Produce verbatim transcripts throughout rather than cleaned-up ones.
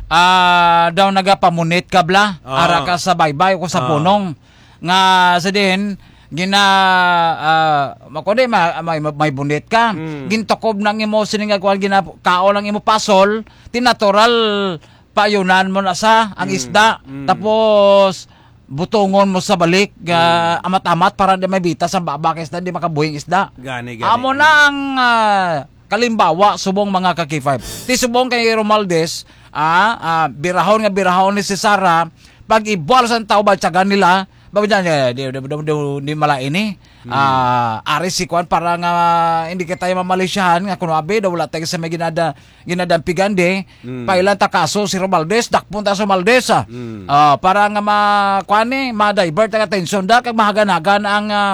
ah, daw nagapamunit ka bla, Ah. ara ka sa baybay o sa Ah. punong. Nga sa din, gina, ah, ma-, kundi ma-, may, may bunit ka. Mm. Gintukob nang imo sini nga kuwan, gina-, kaon ang imo pasol, tinatural, paayunan mo na sa ang Mm. isda. Mm. Tapos, butongon mo sa balik, ah, Mm. amat-amat para di may bitas ang baba kay isda, di makabuhing isda. Gani, gani. Amo na ang, ah, kalimbawa subong mga ka-K five. Ti subong kay Romualdez, ah, ah, birahon nga birahon ni si Sara, pag ibual sa tao ba tiyagan nila, ba dyan, eh, di, di, di, di, di malain eh. Hmm. Ah, ari si Kwan para nga hindi kita mamalisyahan nga kuno abi daw wala tayo sa may ginada, ginadampigan di. Hmm. Pailan ta kaso si Romualdez, dakpon ta si Romualdez, ah. Hmm. Ah, para nga ma, kwan eh, ma-divert ang atensyon da, kag mahagan-hagan ang, ah,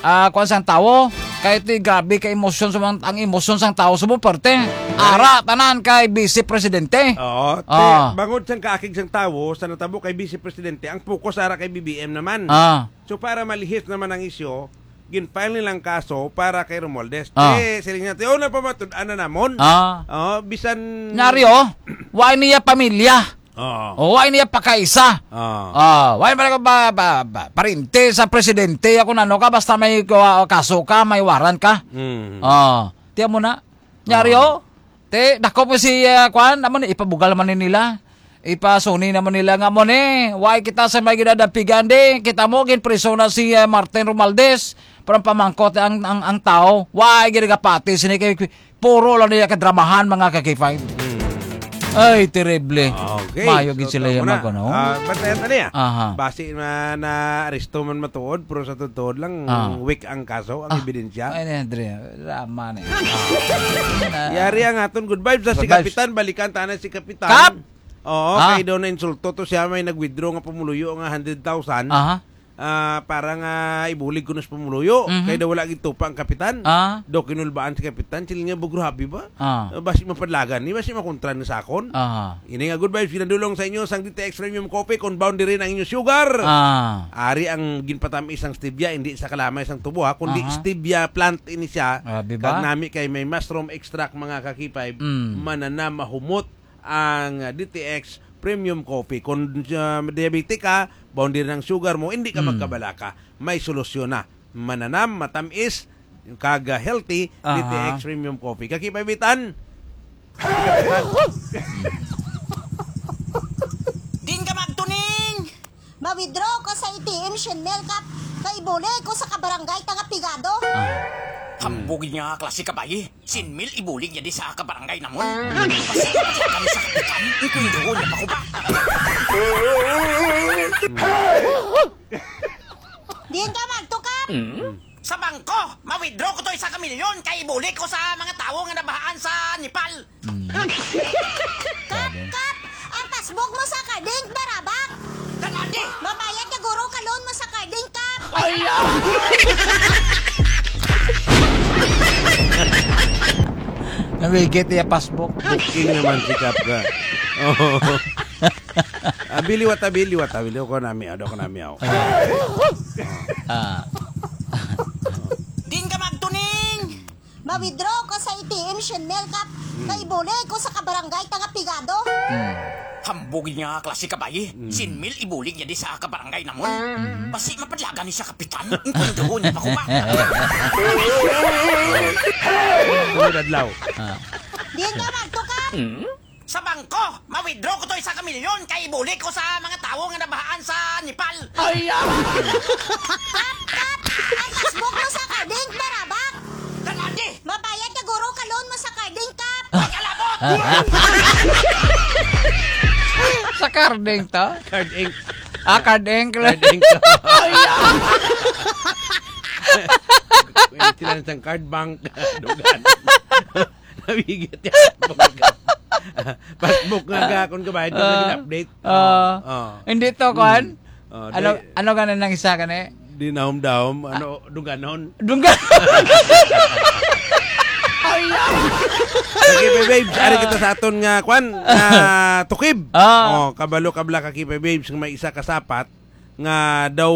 ah, kwan sang tawo. Kay ti grabe ka emosyon sa mga, ang emosyon sang tawo sa mong parte. Dali. Ara, tanan kay Vice Presidente. Oo, ti, Ah. bangod sang kaakig sang tawo, sa natabo kay Vice Presidente, ang focus ara kay B B M naman. Ah. So, para malihis naman ang isyu, gin-file nilang kaso para kay Romualdez. Ah. Ti, siling niya, ti, una pa matud-an na namon. Ah. Oh, bisan Nyari, oh. Wa niya pamilya. Oo. O, wa niya pakaisa. Oo. Ah, wa man ko ba, ba, ba, parente sa presidente. Ako na, ano ka, basta may ka-, kaso ka, may warrant ka. Mm. Ah, tiyan mo na. Nyari, Oo. oh. Te, dako po si, ah, kwan, naman, ipabugal man ni nila. Ipasuni naman nila nga mo ni. Why kita sa may ginadampigan, di? Kita mo, ginpriso na si, ah, Martin Romualdez. Parang pamangkot ang, ang, ang tao. Why ginagapati sini kay puro lang niya kadramahan, mga ka-K five. Hmm. Ay, terrible. Okay, Mayo so, gid sila tama yung na. Mag-, ano? Ah, bantayan ta niya. Aha. Basi na, na aresto man matuod, pero sa totoo lang, Ah. weak ang kaso, ang Ah. ebidensya. Ay, na, Dre. Drama na yun. Ah. Yari ang aton good vibes sa si Good vibes. Kapitan. Balikan ta na si Kapitan. Kap! Oo, Ah. kay daw na insulto to siya, may nag-withdraw nga pumuluyo nga hundred thousand. Aha. Ah, para nga ibulig kuno sa pumuluyo. Mhm. Kay daw wala gitupa ang kapitan. Ah. Daw kinulbaan si kapitan, sila nga bugrabe ba? Ah. Ah, basi mapadlagan ni, basi makontra ni sakon. Ah. Ini nga good vibes, ginadulong sa inyo sang D T X Premium Coffee, kung boundary na ang inyo sugar. Ah. Ari ang ginpatamis sang stevia, hindi sa kalamay sang tubo, ha, kundi Aha. stevia plant ini siya. Grabe ba? Kag nami kay may mushroom extract, mga ka-K five, Mm. mananam mahumot ang D T X Premium Coffee. Kung, uh, diabetic ka, boundary ng sugar mo, hindi ka Mm. magkabalaka. May solusyon na. Mananam, matamis, kag, uh, healthy, Aha. D T X Premium Coffee. Kakipabitan? Din ka magtuning! Ma-withdraw ko sa A T M, Shin Mel, kap. Kay ibuli ko sa kabarangay ta nga pigado. Ah. Hambog niya klase ka bayi. Sin mil ibulig niya di sa kabarangay namon. Basta kami sa kapitan, ikunduhon niya pa ko ba? Diin ka magtukap? Hmm? Sa bangko, ma-withdraw ko to isa ka milyon kay ibulig ko sa mga tawo nga nabahaan sa Nepal. Hmm. Kap, kap! Ang passbook mo sa Carding, barabak! Tanadi! Mabayad ka, guro, ka loan mo sa Carding, kap! Ay, ah! Namigit iya passbook. Booking naman si Kap ka. Oo. Abi, liwat, abi, liwat, abi, liwat ko nami, ado ko nami, oh. Ah. Din ka magtuning! Ma-withdraw ko sa A T M, Shin Mel, kap. Hmm. Kay ibuli ko sa kabarangay ta nga pigado. Hmm. Hambog niya klase ka bayi. Hmm. Sin mil ibulig niya di sa kabarangay namon. Hmm. Basi mapadlagan ni sa kapitan. Ang kunduhon niya pa ko ba? Sunod adlaw. Ah. Diin ka magtukap? Hmm? Sa bangko, ma-withdraw ko to isa ka milyon kay ibuli ko sa mga tawo nga nabahaan sa Nepal. Ay, ah! Kap, kap! Ang passbook mo sa Carding, barabak! Tanadi! Mabayad ka, guro, ka loan mo sa Carding, kap! Ay, kalabot! Sa Carding to? Card Inc. Ah, Card Inc. Card Inc. Ay, ah! Pwede sila sa card bank. Dugan. Nabigit yan. Passbook nga gakon ka ba? Ito Ah. naging update. Ah. Oh, oh. Hindi to, Hmm. kwan? Oh, Ano, di, ano ka na nang isa ka na eh? di nahom-dahom, ano, duganon. Dungga. Ay, ah. Sige, babes, ari Ah. kita sa aton nga, kwan, nga tukib. Ah. Oh, kabalo ka bala ka, Kipe Babes, nga may isa ka sapat, nga daw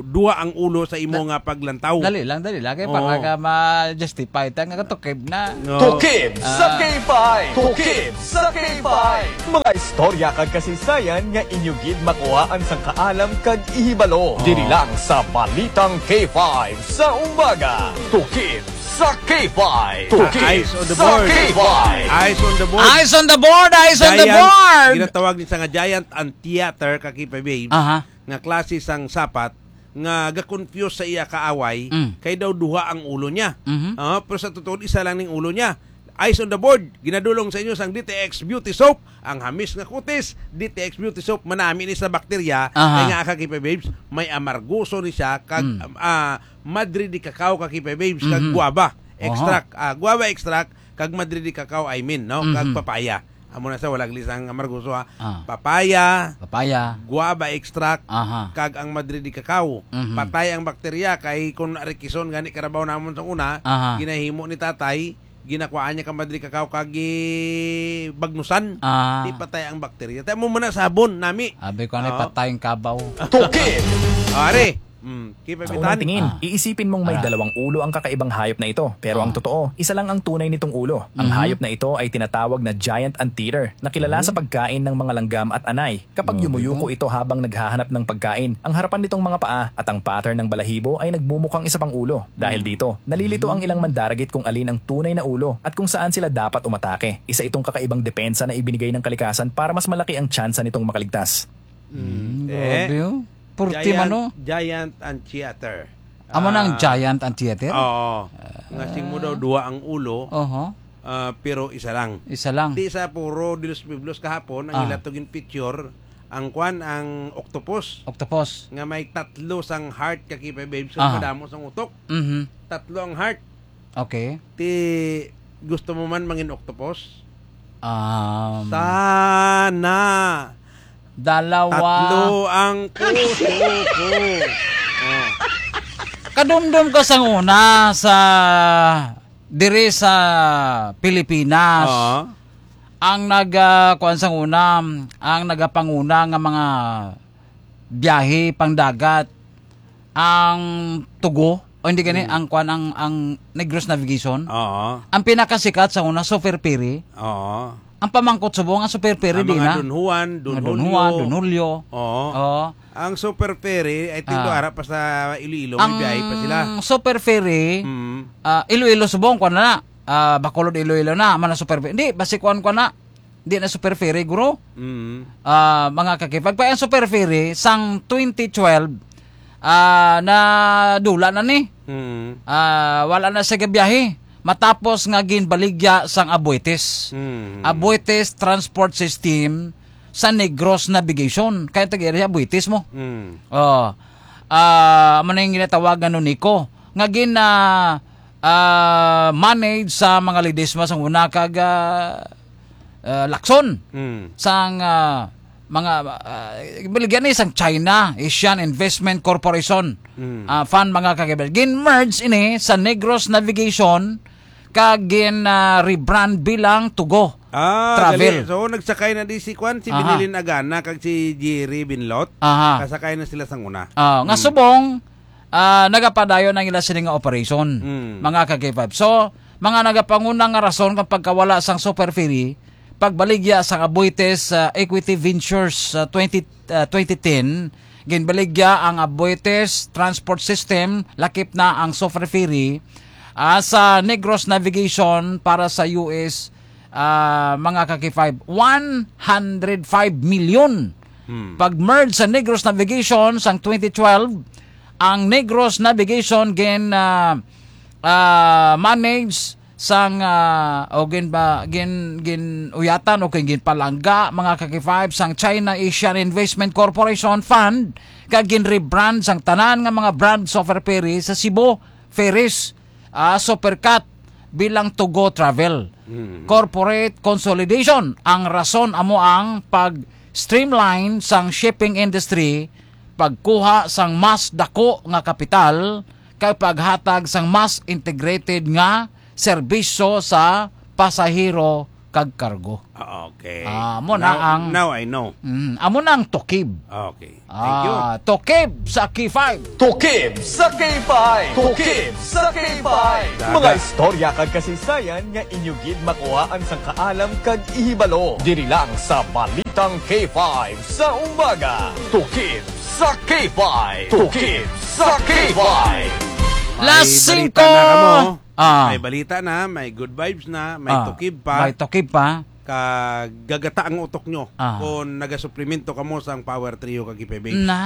duha ang ulo sa imo Da-, nga paglantaw. Dali lang, dali lang. Kay Oo. para nga ma-justify ta nga tukib na. Oo. Tukib sa Ah. K five! Tukib sa K five! Mga istorya kag kasaysayan nga inyo gid makuhaan sang kaalam kag ihibalo. Oo. Diri lang sa Balitang K five sa umaga. Tukib sa K five! Tukib Eyes on the sa board. K five! Eyes on the board. Eyes on the board! Eyes on the Giant, board! ginatawag ni sa nga giant ang theater, ka K five Babes. Aha. Nga klase sang sapat nga ga-confuse sa iya kaaway, Mm. kay daw duha ang ulo niya. Mhm. Ah, pero sa totoo, isa lang ning ulo niya. Eyes on the board, ginadulong sa inyo sang D T X Beauty Soap, ang hamis nga kutis, D T X Beauty Soap, manami ni sa bakterya, Aha. kay nga, ka K five Babes, may amargoso ni siya, kag, Mm. ah, madre de cacao, ka K five Babes, kag Mhm. guava Aha. extract, ah, guava extract, kag madre de cacao, I mean, no? Kag Mhm. papaya. Amo na sa, wala gali sang amargoso, ha. Ah. Papaya, Papaya. guava extract, Aha. kag ang madre de cacao. Mhm. Patay ang bakterya, kay kung arikison gani karabaw namon sa una, Aha. ginahimo ni tatay, ginakuhaan niya ka madre de cacao, kag gibagnusan. Ah. Di patay ang bakterya. Tayo mo muna sabon, nami. Abi ko, ano, Oo. patay ang kabaw. Tukib! Are, Mm, keep it Sa unang tingin, Ah. iisipin mong may Ah. dalawang ulo ang kakaibang hayop na ito, pero ang Ah. totoo, isa lang ang tunay nitong ulo. Ang Mhm. hayop na ito ay tinatawag na giant anteater, na kilala Oh. sa pagkain ng mga langgam at anay. Kapag Grabe yumuyuko to. ito habang naghahanap ng pagkain, ang harapan nitong mga paa at ang pattern ng balahibo ay nagmumukhang isa pang ulo. Dahil Mm. dito, nalilito ang Mm. ilang mandaragit kung alin ang tunay na ulo at kung saan sila dapat umatake. Isa itong kakaibang depensa na ibinigay ng kalikasan para mas malaki ang tsansa nitong makaligtas. Mm, Mm, eh. grabe, oh. Purti man, Giant, oh. Giant Anteater. Amo na ang Ah, Giant Anteater? Oo. Nga sing mo daw Ah. duha ang ulo, Oho. ah, pero isa lang. Isa lang. Di sa Foro de los Pueblos kahapon, ang Ah. ila to gin-feature, ang kwan, ang octopus. Octopus. Nga may tatlo sang heart, ka K five Babes, Aha. kadamo sang utok. Mhm. Tatlo ang heart. Okay. Ti, gusto mo man mangin octopus? Um, Sana. Dalawa. Tatlo ang puso ko. Oh. Kadumdom ka sang una sa, diri sa Pilipinas. Oo. Ang nag, ah, kuwan sang una, ang nagapanguna nga mga biyahe pangdagat, ang Tugo, o hindi gani, Mm. ang kwan, ang, ang Negros Navigation. Oo. Ang pinakasikat sa una, Super Ferry. Oo. Ang pamangkot subong, ang Super Ferry, Ang di mga na. Don Juan, Don Mga Don Julio. Juan, Don Julio. Oo. Oo. Ang Super Ferry, I think, Ah. to, ara pa sa Iloilo, may Ang biyahe pa sila. Super Ferry, Mm. ah, Iloilo subong, kwan na na. Ah, Bacolod, Iloilo na, man ang Super Ferry. Hindi, basi kwan, kwan na. Di na Super Ferry, guro. Mm. Ah, mga kakipag. Pa ang Super Ferry, sang twenty twelve, ah, nadula na ni. Mm. Ah, wala na siya gabiyahe. Matapos nga ginbaligya sang Aboitiz. Mm. Aboitiz Transport System sa Negros Navigation. Kaya tag-iri Aboitiz mo. Mm. Oh. Ah, amo na yung ginatawag nga Nonico. Nga gin, ah, ah, manage sa mga Ledesma sang una kag, ah, ah, Lacson. Mm. Sang, ah, mga, ah, baligya ni sang China, Asian Investment Corporation, Mm. ah, fund, mga kagibal. Gin-merge ini sa Negros Navigation kag gin, ah, rebrand bilang Tugo Ah, Travel. gali. So, nagsakay na di si kwan, si Aha. Binilin Agana kag si Jerry Binlot. Aha. Kasakay na sila sang una. Ah, nga Mm. subong, ah, nagapadayon ang ila sini nga operation, Mm. mga ka-K five. So, mga nagapanguna nga rason kang pagkawala sang Super Ferry, pagbaligya sang Aboitiz, ah, Equity Ventures, ah, twenty, ah, twenty ten, ginbaligya ang Aboitiz Transport System, lakip na ang Super Ferry, ah, sa Negros Navigation para sa U S, ah, mga ka-K five, one hundred five million. Hmm. Pag-merge sa Negros Navigation sang twenty twelve, ang Negros Navigation gin, ah, ah, manage sang, ah, o gin ba, gin, gin uyatan o gin, gin palangga, mga ka-K five, sang China Asian Investment Corporation Fund, kag gin-rebrand sang tanan nga mga brand Super Ferry sa Cebu Ferries, ah, Supercat bilang Tugo Travel. Mm. Corporate consolidation ang rason amo ang pag-streamline sang shipping industry, pagkuha sang mas dako nga kapital, kag paghatag sang mas integrated nga serbisyo sa pasahero kag cargo. Ah, okay. Ah, amo na Now, ang now I know. Mm, amo na ang tukib. Okay. Thank you. Ah, tukib sa K five. Tukib sa K five. Tukib sa K five. Daga. Mga istorya kag kasaysayan nga inyo gid makuhaan sang kaalam kag ihibalo. Diri lang sa Balitang K five sa umaga. Tukib sa K five. Tukib sa K five. Alas May singko. balita na kamo. Ah. May balita na, may good vibes na, may Ah, tukib pa. may tukib pa. Kag gagata ang utok nyo Ah. kung nagasuplemento kamo sang Power Trio kag K five Babes. Na.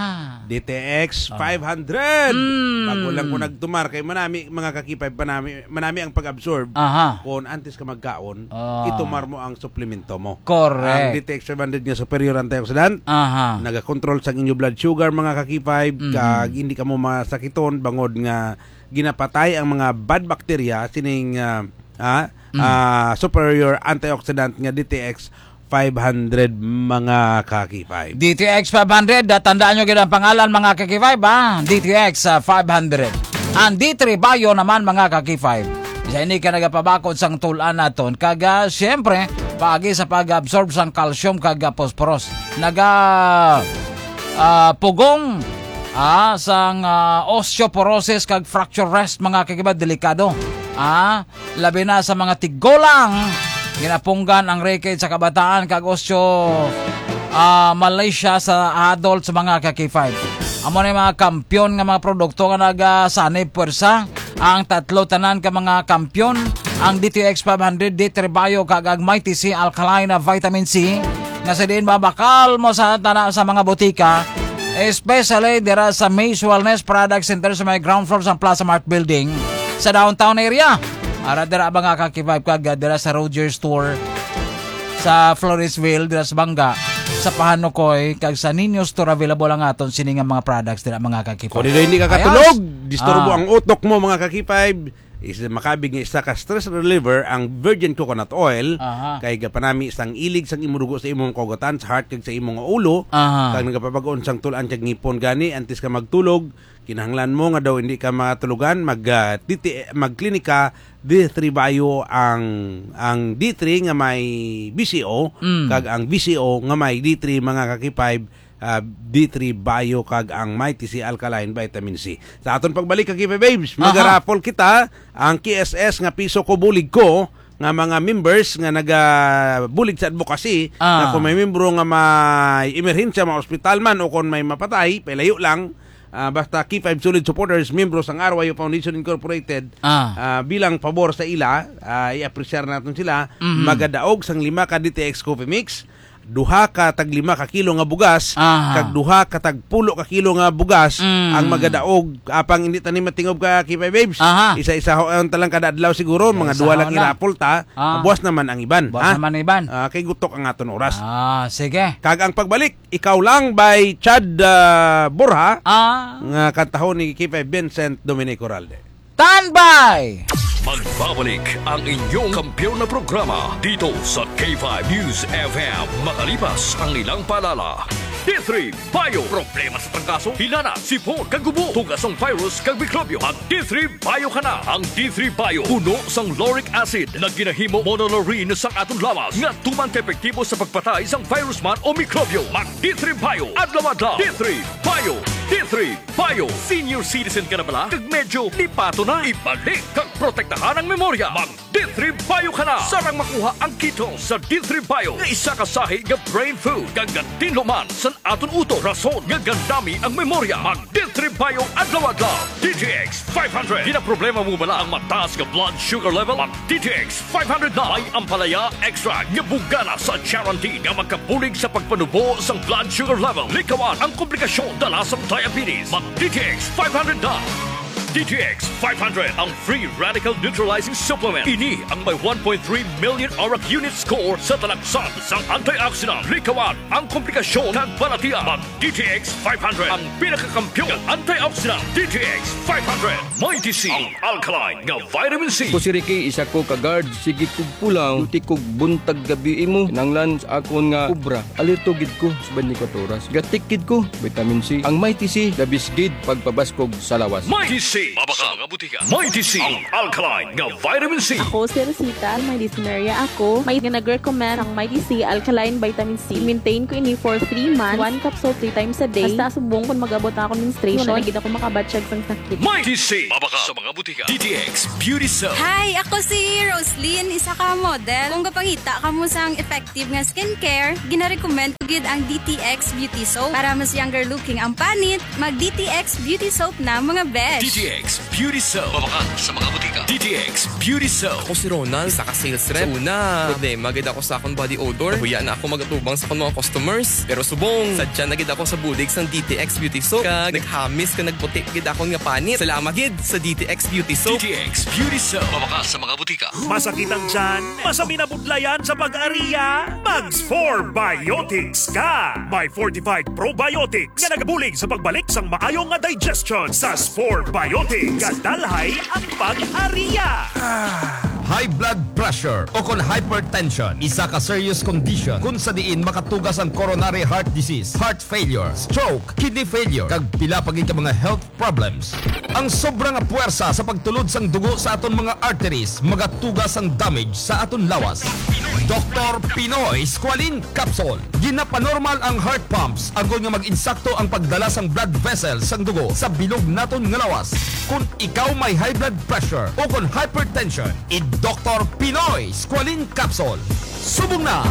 D T X Ah. five hundred. Mm. Bago lang ko nagtumar kay manami, mga ka-K five, manami, manami ang pag-absorb. Aha. Kung antes ka magkaon, Ah. itumar mo ang suplemento mo. Correct. Ang D T X five hundred nga superior antioxidant, Aha. nagakontrol sa inyo blood sugar, mga ka-K five, Mhm. kag hindi kamo masakiton bangod nga ginapatay ang mga bad bacteria sining, ah, ah, Mm. ah, superior antioxidant nga D T X five hundred, mga ka-K five. D T X five hundred, ah, tandaan nyo gid ang pangalan, mga ka-K five, ha? D T X, ah, five hundred. Ang D three Bio naman, mga ka-K five. Sa ini ka nagapabakod sang tul-an naton. Kag, ah, siyempre, paagi sa pag-absorb sang calcium kag, ah, phosphorus. Naga, ah, pugong, ah, sang, ah, osteoporosis kag fracture risk, mga ka-K five, delikado. Ah, labi na sa mga tigulang, ginapunggan ang rickets sa kabataan kag osteo, ah, malacia sa adults, mga ka-K five. Amo na yung mga kampiyon nga mga produkto nga nagasanib puwersa. Ang tatlo tanan ka mga kampiyon, ang D T X five hundred, D three Bio, kag ang Mighty C Alkaline na Vitamin C, nga sa diin mabakal mo sa tana sa mga botika, especially dira sa Maze Wellness Product Center sa may ground floor sa Plaza Mart Building sa downtown area. Ara dira, mga ka-K five, kag dira sa Rogers Store sa Floresville, dira sa Banga, sa Pahanukoy, kag sa Niño Store, available ang aton sini nga mga products dira, mga ka-K five. Kung dili, hindi ka Ayos. katulog, disturbo Ah. ang utok mo, mga ka-K five. Is makabig nga isa ka stress reliever ang virgin coconut oil, Aha. kay gapanami sang ilig sang imong dugo sa imong kaugatan, sa heart kag sa imong ulo, Aha. kag nagapabag-on sang tul-an kag ngipon gani antes ka magtulog. Kinahanglan mo nga daw hindi ka matulugan, mag, ah, titi-, magklinika, D three Bio ang, ang D three nga may B C O, Mm. kag ang B C O nga may D three, mga ka-K five, ah, D three Bio kag ang Mighty C Alkaline Vitamin C. Sa aton pagbalik, ka-K five Babes, Aha. magaraffle kita ang K S S nga piso ko bulig ko nga mga members nga nagabulig sa advocacy Ah. na kung may membro nga may emerhensya, mga ospital man o kung may mapatay, pailayo lang, ah, basta K five solid supporters, membro sang R Y U Foundation Incorporated, Ah. ah, bilang pabor sa ila, ah, i-apresyar naton sila, Mhm. magadaog sang lima ka D T X Coffee Mix, duha ka tag lima ka kilo nga bugas, Aha. kag duha ka tag pulo ka kilo nga bugas Mm. ang magadaog, apang hindi tani matingob, ka-K five Babes. Aha. Isa-isa ho ang talang kada adlaw siguro, mga Isa-isa duha ho lang lang. i-raffle ta, Ah. buwas naman ang iban, Buwas ha? naman ang iban. Ah, kay gutok ang aton oras. Ah, sige. Kag ang pagbalik, Ikaw Lang by Chad, ah, Borja, Ah. nga kantahon ni K five Vincent Dominic Oralde. Standby! Magbabalik ang inyong kampiyon na programa dito sa K five News F M, makalipas ang ilang paalala. D three Bio. Problema sa trangkaso, hinana, sipon, kag ubo, tugas sang virus kag mikrobyo. Mag D three Bio ka na. Ang D three Bio puno sang lauric acid nga ginahimo monolaurin sang aton lawas nga tuman ka epektibo sa pagpatay sang virus man o mikrobyo. Mag D three Bio adlaw-adlaw. D three Bio. D three Bio. Senior citizen ka na bala? Kag medyo lipato na? Ibalik kag protektahan ang memorya. Mag D three Bio ka na. Sarang makuha ang ketone sa D three Bio nga isa ka sahi nga brain food kag gatinlo man sa aton utok, rason nga gandami ang memorya. Mag D three Bio adlaw-adlaw. D T X five hundred. Ginaproblema mo bala ang mataas nga blood sugar level? Mag D T X five hundred na. May ampalaya extract nga bugana sa charantin nga magkabulig sa pagpanubo sang blood sugar level. Likawan ang komplikasyon dala sa diabetes. Mag D T X five hundred na. D T X five hundred, ang free radical neutralizing supplement. Ini ang may one point three million arak unit score sa talaksan sang antioxidant. Likawan ang komplikasyon kag balatian. Mag D T X five hundred, ang pinakakampiyon nga antioxidant. D T X five hundred. Mighty C, ang alkaline nga vitamin C. Ako si Ricky, isa ko ka guard. Sige kog pulaw, duty kog buntag gabi imo. Kinahanglan sa akon nga obra, alerto gid ko sa twenty-four oras. Gatik gid ko, vitamin C. Ang Mighty C, the best gid pagpabaskog sa lawas. Mighty C, Mabakal sa mga butika. Mighty C, ang alkaline nga vitamin C. Ako si Rosita, may dysmenorrhea ako. May nga nag-recommend ang Mighty C alkaline vitamin C. Maintain ko ini for three months. One capsule three times a day. Hasta subong kung mag-abot na ako menstruation, wala na gid ako makabatyag sang sakit. Mighty C, mabakal sa mga butika. D T X Beauty Soap. Hi, ako si Roslyn, isa ka model. Kung gapangita kamo sang effective nga skincare, ginarecommend ko gid ang D T X Beauty Soap. Para mas younger looking ang panit, mag D T X Beauty Soap na, mga besh. D T X Beauty Soap. Mabakal sa mga butika. D T X Beauty Soap. Ako si Ronald, isa ka sales rep. Sa una, problema gid ako sa akong body odor. Nahuya na ako magatubang sa akong mga customers. Pero subong, sadya na gid ako sa bulig sang D T X Beauty Soap. Kag naghamis ka nagputi gid akon nga panit. Salamat gid sa D T X Beauty Soap. D T X Beauty Soap. Mabakal sa mga butika. Masakit ang tiyan? Masabi na budlayan sa pag-ariya? Mag Spore Biotics ka! May fortified probiotics nga nagabulig sa pagbalik sang maayo nga digestion sa Spore Biotics. Kadalhay ang pag-ariya! High blood pressure o kon hypertension, isa ka serious condition kung sa diin makatugas ang coronary heart disease, heart failure, stroke, kidney failure, kag pila pa gid ka mga health problems. Ang sobra nga puwersa sa pagtulod sang dugo sa aton mga arteries magatuga sang damage sa aton lawas. Doktor Pinoy Squalene Capsule. Ginapanormal ang heart pumps agod nga mag-insakto ang pagdala sang blood vessels sang dugo sa bilog naton nga lawas. Kung ikaw may high blood pressure o kon hypertension, i-Doktor Pinoy Squalene Capsule. Subong na!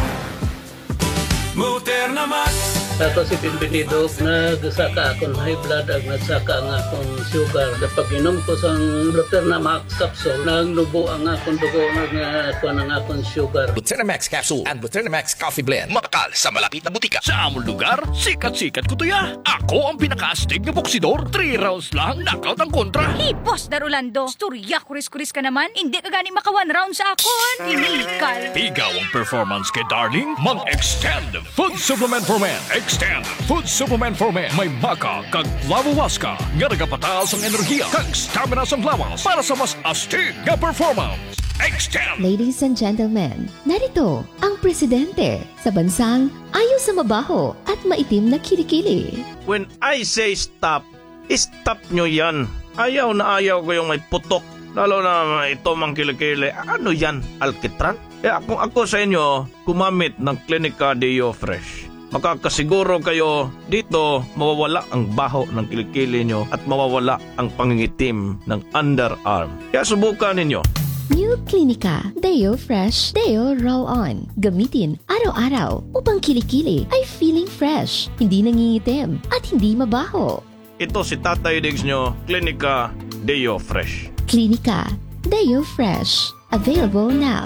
Moderna Max. Ako si Bienvenido, nagsaka akon high blood ag nagsaka ang akon sugar. Napag-inom ko sang Moderna Max capsule, nagnubo ang akon dugo, nag-, kuwan ang akon sugar. Buterna Max Capsule and Buterna Max Coffee Blend. Mabakal sa malapit na butika. Sa amon lugar, sikat-sikat ko to ya. Ako ang pinakaastig nga boksidor. Three rounds lang, knockout ang kontra. Hey, Boss Dar Orlando, istorya kuris-kuris ka naman. Hindi ka gani maka one round sa akon. Iniikal. Pigaw ang performance kay Darling. Mag-Extend Food Supplement for Men. Extend Food Supplement for Men. May maca kag flavowaska nga nagapataas ang enerhiya kag stamina sang lawas para sa mas astig nga performance. Extend. Ladies and gentlemen, narito ang presidente sa bansang ayo sa mabaho at maitim na kilikili. When I say stop, stop nyo yan. Ayaw na ayaw ko yung may putok. Lalo na ito mang kilikili. Ano yan? Alkitran? Kaya kung ako sa inyo, gumamit ng Clinica Deo Fresh. Makakasiguro kayo dito mawawala ang baho ng kilikili nyo at mawawala ang pangingitim ng underarm. Kaya subukan ninyo. New Clinica Deo Fresh Deo Roll On. Gamitin araw-araw upang kilikili ay feeling fresh, hindi nangingitim, at hindi mabaho. Ito si Tatay Diggs nyo, Clinica Deo Fresh. Clinica Deo Fresh. Available now.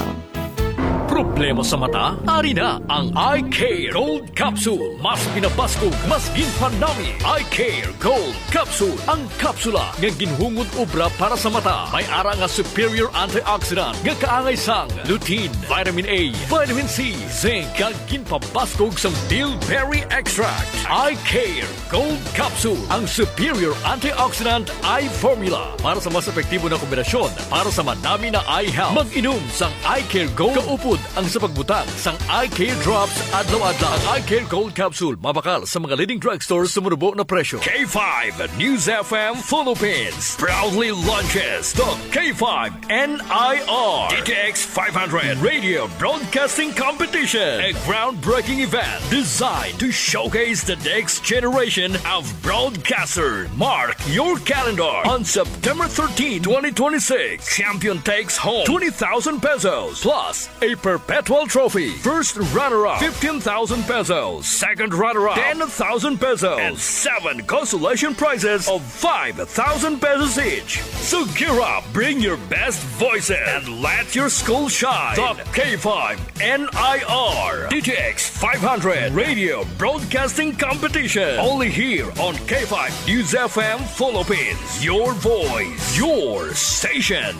Problema sa mata? Ari na ang Eye Care Gold Capsule. Mas pinabaskog, mas ginpanami. Eye Care Gold Capsule. Ang kapsula nga ginhungod obra para sa mata. May ara nga superior antioxidant nga kaangay sang lutein, vitamin A, vitamin C, zinc, kag ginpabaskog sang bilberry extract. Eye Care Gold Capsule, ang superior antioxidant eye formula para sa mas epektibo na kombinasyon para sa manami na eye health. Mag-inom sang Eye Care Gold kaupod ang sa pagbutang sang Eye Care Drops adlaw-adlaw. Ang Eye Care Gold Capsule mabakal sa mga leading drugstores sa manubo na presyo. K five News F M Philippines proudly launches the K five N I R D T X five hundred Radio Broadcasting Competition, a groundbreaking event designed to showcase the next generation of broadcaster. Mark your calendar on September thirteenth, twenty twenty-six. Champion takes home twenty thousand pesos plus a perpetual trophy. First runner-up, fifteen thousand pesos. Second runner-up, ten thousand pesos. And seven consolation prizes of five thousand pesos each. So gear up, bring your best voices, and let your school shine. The K five N I R D T X five hundred Radio Broadcasting Competition. Only here on K five News F M Philippines. Your voice, your station.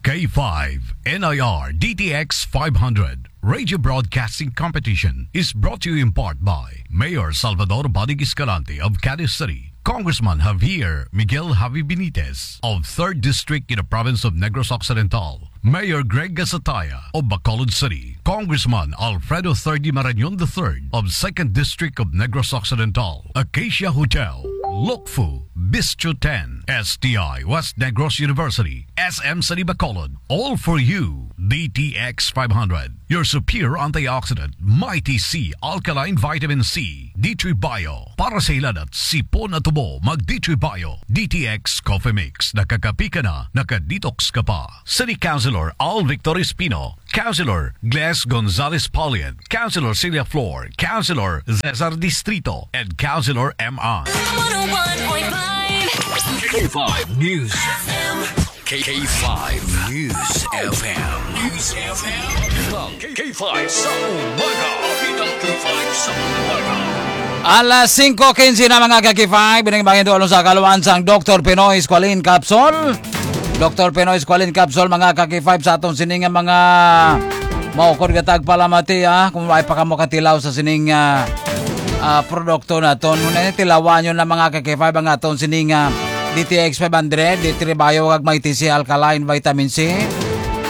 K five N I R D T X five hundred Radio Broadcasting Competition is brought to you in part by Mayor Salvador Bodig Escalante of Cadiz City, Congressman Javier Miguel Javi Benitez of third District in the province of Negros Occidental, Mayor Greg Gasataya of Bacolod City, Congressman Alfredo Thirdy Marañon the third of second District of Negros Occidental, Acacia Hotel, Lukfu, Bistro ten, S T I, West Negros University, S M City Bacolod, all for you. D T X five hundred, your superior antioxidant, Mighty C alkaline vitamin C, D three Bio, para sa hilanat, sipon at tubo, mag D three Bio, D T X Coffee Mix, nakakapi ka na, naka-detox ka pa. City Councilor Al Victor Espino, Councilor Gles Gonzalez Paulian, Councilor Celia Flor, Councilor Cesar Distrito, and Councilor M I. one oh one point five K five News. K five News F M. News F M. Ang K five sa umaga. Ang K five sa umaga. Alas singko quince na, mga ka-K five, binigyan sa kaluan sang Doktor Pinoy Squalene Capsule. Doktor Pinoy Squalene Capsule, mga ka-K five, sa aton sini nga mga maukod nga tagpalamati, ah, kung ay pa kamo katilaw sa sining, ah, ah, produkto naton. Muna ni tilawan nyo na, mga ka-K five, ang aton sining, ah, D T X five hundred, D three Bio, kag may T C alkaline vitamin C.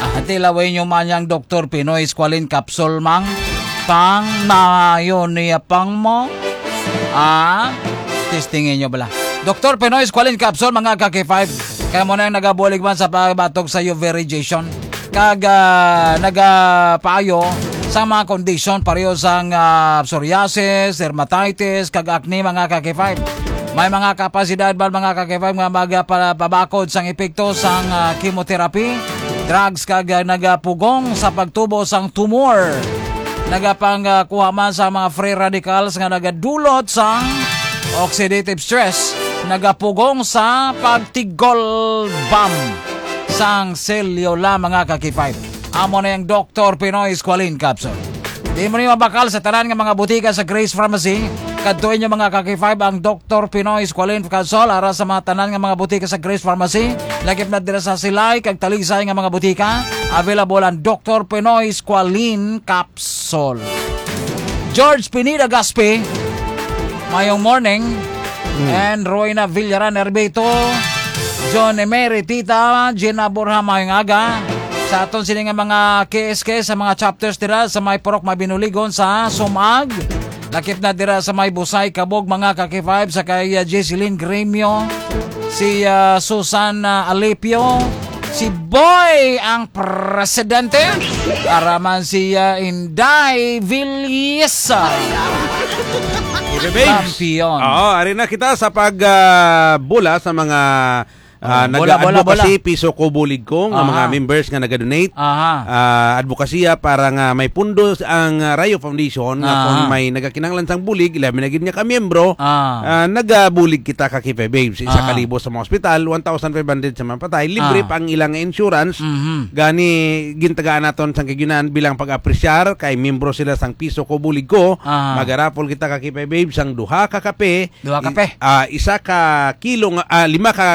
Ah, tilaway nyo man yang Doktor Pinoy Squalene Capsule, mang. Pang mayo niya pang mo. Ah, testingin nyo bala. Doktor Pinoy Squalene Capsule, mga ka-K five. Kaya mo na yung nagabulig man sa pagbatok sa U V radiation. Kag, ah, nagapaayo sa mga kondisyon pareho sang, ah, psoriasis, dermatitis, kag acne, mga ka-K five. May mga kapasidad ba, mga ka-K five, nga magapabakod sang epekto sang, ah, chemotherapy, drugs, kag, ah, nagapugong sa pagtubo sang tumor. Nagapang, ah, kuha man sa mga free radicals nga nagadulot sang oxidative stress, nagapugong sa pagtigol bam sang selyola, mga ka-K five. Amo na yung Doktor Pinoy Squalene Capsule. Di mo ni mabakal sa tanan nga mga butika sa Grace Pharmacy. Kadto inyo, mga ka-K five, ang Doktor Pinoy Squalene Capsule ara sa mga tanan nga mga butika sa Grace Pharmacy. Lakip na dira sa Silay kag Talisay nga mga butika. Available ang Doktor Pinoy Squalene Capsule. George Pineda Gaspi, mayong morning. Mm. And Royna Villaran Erbito, John Emery Tita, Gina Borja, mayong aga. Sa aton sini nga mga K S K, sa mga chapters dira sa may Purok Mabinuligon sa Sumag. Lakip na dira sa may Busay, Kabog, mga ka-K five, sa kay, uh, Jesselyn Gremio, si, uh, Susan, uh, Alipio, si Boy ang presidente, para man si, uh, Inday Villisa. K five Babes. Kampiyon. Oo, ari na kita sa pag, ah, bula sa mga, ah, Oh, bola, bola, nag-advocacy, bola. Piso Ko Bulig Ko, nga mga Aha. members nga naga-donate. Aha. Ah, advokasya para nga may pundo ang, ah, Rayo Foundation, nga Aha. kung may nagakinahanglan sang bulig, ilabi na gid nga ka miyembro, Ah. ah, nagabulig kita ka K five Babes. Isa Aha. ka libo sa mga ospital, one thousand five hundred sa mga patay, libre Ah. pa ang ilang insurance. Mhm. Gani, gintagaan naton sang kaginan bilang pag-apresyar kay miyembro sila sang Piso Ko Bulig Ko. Aha. Magarapol kita ka K five Babes sang duha ka kape, Duha ka i-, kape. ah, isa ka kilo nga, ah, lima ka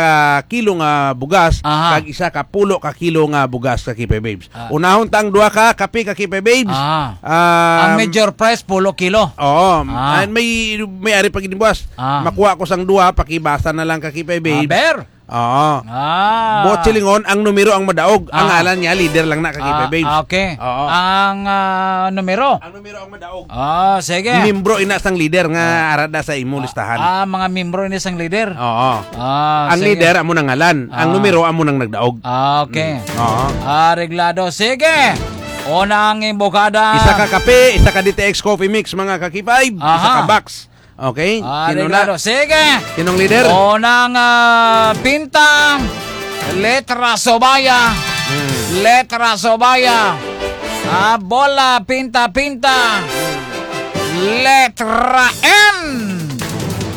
kilo nga bugas, Aha. kag isa ka pulo ka kilo nga bugas ka K five Babes. Ah. Unahon ta ang duha ka kape ka K five Babes. Ah. Ah, Ang major price, pulo kilo. Oo. Ah. Ah, may, may ari pa gid buwas. Ah. Makuha ko sang duha, pakibasa na lang ka K five Babes. Aber. Oo. Ah. Buot silingon, ang numero ang madaog. Ang Ah. ngalan niya, leader lang na, ka K five Ah, Babes. okay. Oo. Ang, ah, numero? Ang numero ang madaog. Ah, sige. Membro ina sang leader nga Ah. arada sa imo Ah, listahan. ah, mga membro ini sang leader? Oo. Ah, Ang sige. leader, amo nang ngalan. Ang Ah. numero, amo nang nagdaog. Ah, okay. Mm. Oo. Ah, reglado. Sige. Una ang imbokada. Isa ka kape, isa ka D T X coffee mix, mga ka K five. Isa Aha. ka box. Okay? Ah, Sino na? reglado. Sige. Sinong leader? Unang, ah, pinta, letra Sobaya. Hmm. Letra Sobaya. Ah, bola, pinta, pinta. Letra N.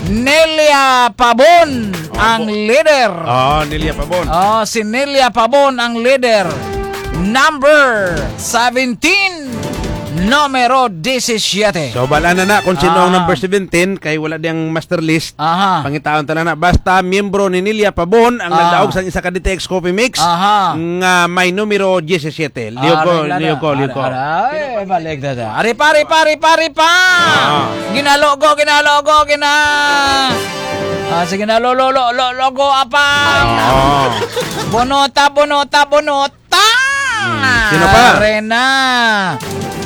Nelia Pabon Opo. ang leader. Oh, Nelia Pabon. Oh, si Nelia Pabon ang leader. Number seventeen. Numero disisiete. So, bala na na kung sino ang Ah. number seventeen, kay wala diyang master list. Aha. Pangitaon ta lang na. Basta miyembro ni Nelia Pabon ang Ah. nagdaog sang isa ka D T X Coffee Mix Aha. nga may numero disisiete. Liog ko, Ari na liog ko, na. liog ko. Ari, ari, ay, balik na na. Ari pa, ari pa, ari pa, ari pa! Ah. Ginalogo, ginalogo, gina-, ah, sige na, lo, lo, lo, lo, logo, apa? Ah. Bonota, bonota, bonota! Hmm. Sino pa? Ari na.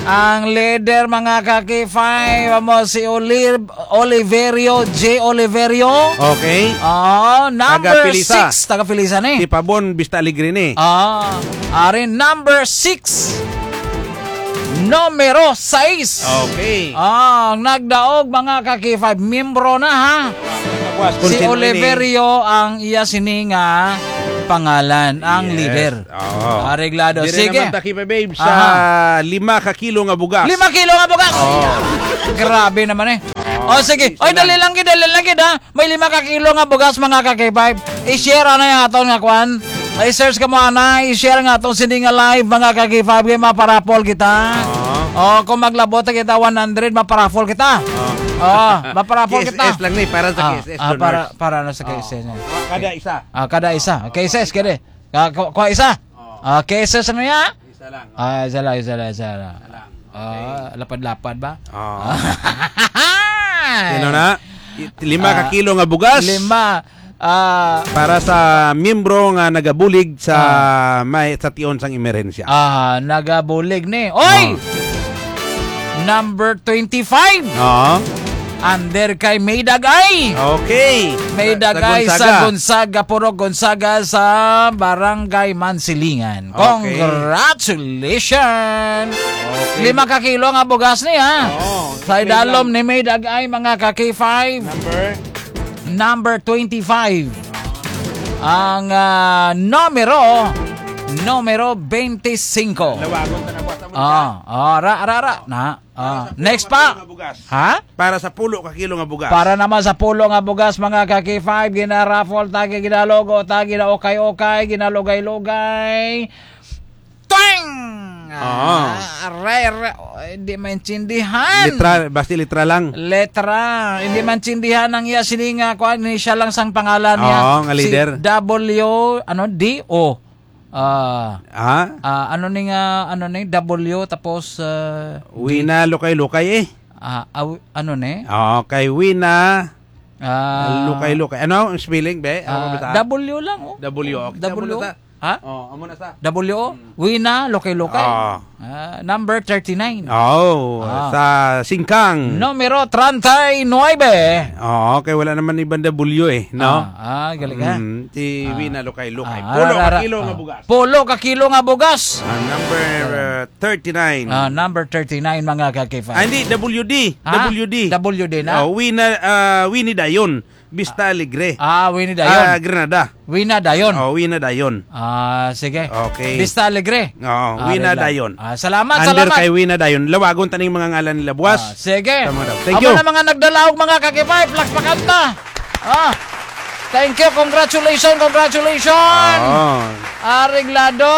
Ang leader, mga ka-K five, amo si Oliv-, Oliverio, J Oliverio. Okay. Oo, number Taga Pilisa. six, taga Pilisa ni. Si Pabon, Vista Alegre ni. Ah, ari number six. Numero sais. Okay. Ah, ang nagdaog, mga ka-K five, miyembro na, ha? Tapos, Si kung sino ini? Oliverio ang iya sini nga pangalan, ang Yes. leader. Oo. Areglado. Dire Sige. naman ta, K five Babes, Aha. sa lima ka kilo nga bugas. Lima kilo nga bugas! Oo. Grabe naman eh. Oo. O, sige. Isa Oy, dali lang. lang gid, dali lang gid, ha? May lima ka kilo nga bugas, mga ka-K five. I-share na yung aton nga kwan. I-search ka mo, ana. I-share nga atong sini nga live, mga ka-K five. Kaya maparapol kita. Oo. O, kung maglabot kita one hundred, maparapol kita. Oo. O, maparapol kita. K S S lang ni, para sa Ah, K S S ah, donors. para, para na sa Oo. K S S na. Kada isa. Ah, kada isa. K S S, kada. Ka-, ku-, kuha isa. Oo. Ah, K S S ano ya? Isa lang. Ah, isa lang, isa lang, isa lang. Isa lang. Ah, Okay. lapad-lapad ba? Oo. Ah. Sino na? I-, lima ka Ah, kilo nga bugas. lima. Ah, Para sa miyembro nga nagabulig sa Ah. may, sa tion sang emerhensya. Ah, nagabulig ni. Oy! Oh. Number twenty-five. Oo. Under kay May Dagay. Okay. May Sa, sa Dagay sa Gonzaga. Gonzaga, Purok Gonzaga sa Barangay Mansilingan. Okay. Congratulations! Okay. Lima ka kilo nga bugas ni, ha? Oo. Sa Okay idalom lang. ni May Dagay, mga ka-K five. Number? Number twenty-five. Ang, ah, numero, numero twenty-five. Lawagon ta na, boss. Amo na Ah, siya. ah, ra, ra, ra. Na. Ah, Para sa next pulo ka pa. kilo nga bugas. Ha? Para sa pulo ka kilo nga bugas. Para naman sa pulo nga bugas, mga ka-K five, ginaraffle ta, ginalogo ta, ginaukay-ukay, ginalugay-lugay. Twang! Oo. Ah, aray, aray, oh, hindi maintindihan. Litra, basta litra lang. Letra. Hindi maintindihan ang iya sini nga kuan, ni siya lang sang pangalan niya. Oo, nga Si leader. W, ano, D O. Ah, Ha? ah, ano ni nga, ano ni, W, tapos, ah, Wina Lukay-Lukay eh. Ah, aw-, ano ni? Oo, kay Wina Ah, Lukay-Lukay. Ano ang spelling, be? Ano ah, ba ta? W lang, oh. W, okay. W. Amo na sa. Ha? Oh, amo na sa. W O? Mm. Wina Lukay-Lukay. Ah. Ah, number thirty-nine. Oh, Ah. sa Singkang. Numero treinta y nueve. Oo, kay wala naman ibang W eh, no? Ah, ah, galing ka. Mm, si Ah. Wina Lukay-Lukay. Ah, Pulo ra, ka ra, kilo nga ah. bugas. Pulo ka kilo nga bugas. Ah, number, uh, thirty-nine. Ah, number thirty-nine, mga ka-K five. Ah, hindi, W D. Ah, W D. W D na? Oh, Wina, ah, Winnie Dayon. Vista Alegre. Ah, Winnie Dayon. Ah, Granada. Wina Dayon. Oh, Wina Dayon. Ah, sige. Okay. Vista Alegre. Oo, Ah, Wina red lang. Dayon. Ah, salamat, Under salamat. kay Wina Dayon. Lawagon taning mga ngalan nila, buwas. Ah, sige. Tama daw. Thank Amo you. na mga nagdala og mga ka-K five, palakpakan ta. Ah. Thank you. Congratulations, congratulations. Oo. Areglado.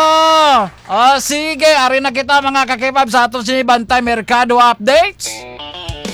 Oh, sige, ari na kita, mga ka-K five, sa aton sini Bantay Merkado Updates.